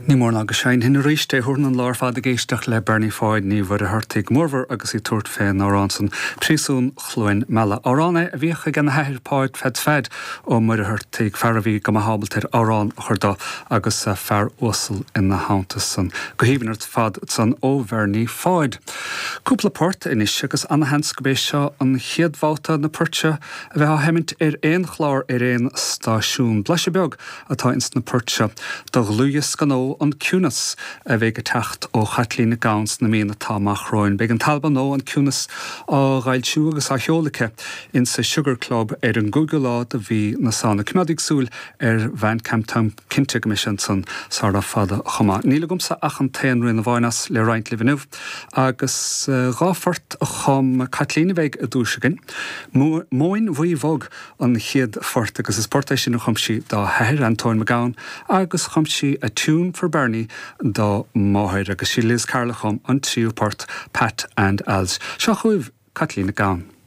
Ní mór ná go seinnfinn arís é. Thabharfainn an lá ar fad ag éisteacht le Bernie Pháid Ní Mhuircheartaigh, go mórmhór agus í ag tabhairt fén amhrán san, Príosún Chluain Meala. Amhrán é a bhíodh ag ena hathair Páid Pheaits Pheaid Ó Muircheartaigh, fear a bhí go maith ábalta ar amhrán a chur do agus fear uasal ina theannta san. Go haoibhinn ar fad san ó Bhernie Pháid. Cúpla port anois agus ana-sheans go b'é seo an chéad bhabhta na poirt seo a bheith á sheimint ar aon chlár ar aon stáisiún. Blaiseadh beag atá ins na poirt seo do dhlúthdhiosca nua An Ciúnas a bheidh ag teacht ó Chaitlín Nic Gabhann sna míonna atá amach romhainn. Beidh an t-albam nua, An Ciúnas, á fhoilsiú agus á sheoladh aici insa Sugar Club ar an gcúigiú lá de mhí na Samhna. Coimeádaigí súil ar Bhandcamp, táim cinnte go mbeidh sé ansan sara fada chomh maith. Níl agamsa ach an t-aon rian amháin as le roinnt libh inniu agus dá phort a chum Caitlín a bheidh i dtús againn, Móin Bhuí Bhog an chéad phort agus is port é sin a chum sí dá hathair, Antóin Mac Gabhann, agus chum sí A Tune for Bernie dá máthair agus sí Liz Carroll a chum an tríú port, Pat and Al's. Seo chugaibh Caitlín Nic Gabhann.